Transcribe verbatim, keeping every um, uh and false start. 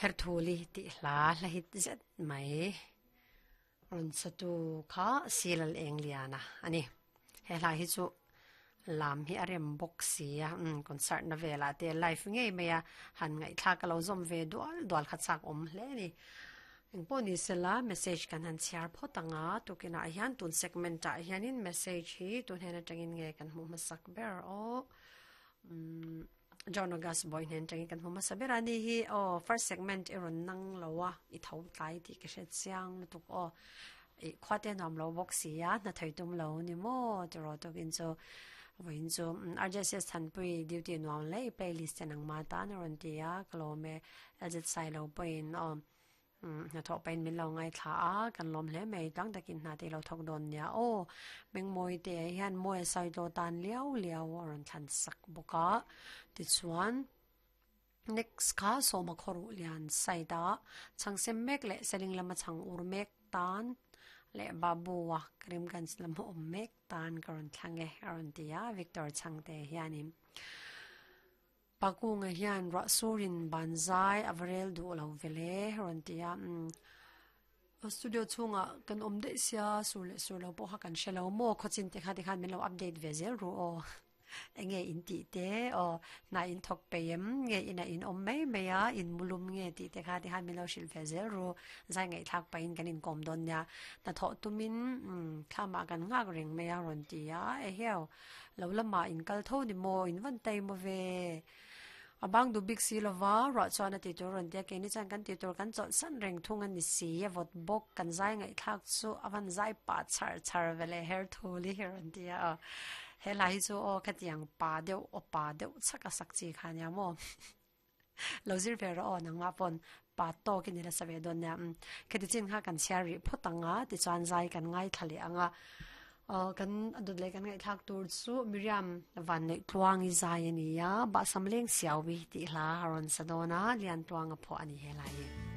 Herthuli ti hla hla hit zet mai ron satu kha silal eng liana ani he hla hi chu lam hi arem bawk sia um concert na vela te live ngei mai a han ngai thla ka lo zom ve dual dual kha chak om hle ni engpawh ni sela message kan han chhiar phawt anga tukinah hian tun segment ah hianin message hi tun hen atangin nge kan hmuh hmasak ber aw um John August boy hnen tangin kan hmu hmasa ber ani hi aw first segment i rawn nang lo a i tho tlai tih ka hre chiang lutuk aw i khua te nuam lo bawk sia hna thei tum lo ni maw tiraw tukin chu vawiin chu R J S Thanpui duty nuam le playlist te nang ma tan a rawn ti a ka lawm e L Z sai lo pawhin aw hna thawh pahin min lo ngai thla a kan lawm hle mai tlang takin hna te lo thawk dawn nia aw mengmawi te hian mawi a sawi tawh tan liau liau a rawn thlan sak bawk a tichuan next kha sawma khawruh lian side a chhangsem mek leh seling lama chhang ur mek tan leh babu a Karimganj lama awm mek tan ka rawn thlang e a rawn ti a Victor Chhangte hianin pakunga hian ruah surin banzai avarel duh lo vele rawn ti a um studio chhungah kan awm daih sia sur leh sur lo pawh kha kan hre lo maw khawchin te kha tikhan min lo update ve zel ru aw enge in tih te aw hna in thawk peim nge ina in awm mai mai a in mulum nge tih te kha tikhan min lo hrilh ve zel ru zai ngaih thlak pahin kan inkawm dawn nia hna thawh tumin um thlamah kan nghak reng mai a rawn ti a eheu lo lamah in kal tho ni maw in van tai maw ve abang du bik si lova ruah chuan a ti tur rawn tia keini chuan kan ti tur kan chawlh san reng thung ani si a vawt bawk kan zai ngaih thlak chu avan zai pa char char vele her thuli hi rawn ti a he lai hi chu aw khatiang pa deuh aw pa deuh chaka sak chi kha nia maw lo zir ve rawh aw nangma pawn pa tawk in ila save dawn nia khati chin kha kan chhiar rih phawt anga tichuan zai kan ngai thla leh anga kan adut leh kan ngaih thlak tur chu Miriam van neih tluang i zai ani a ba sam leng siawi tih hla a rawn sa dawn a lian tluang a phuah ani he lai hi.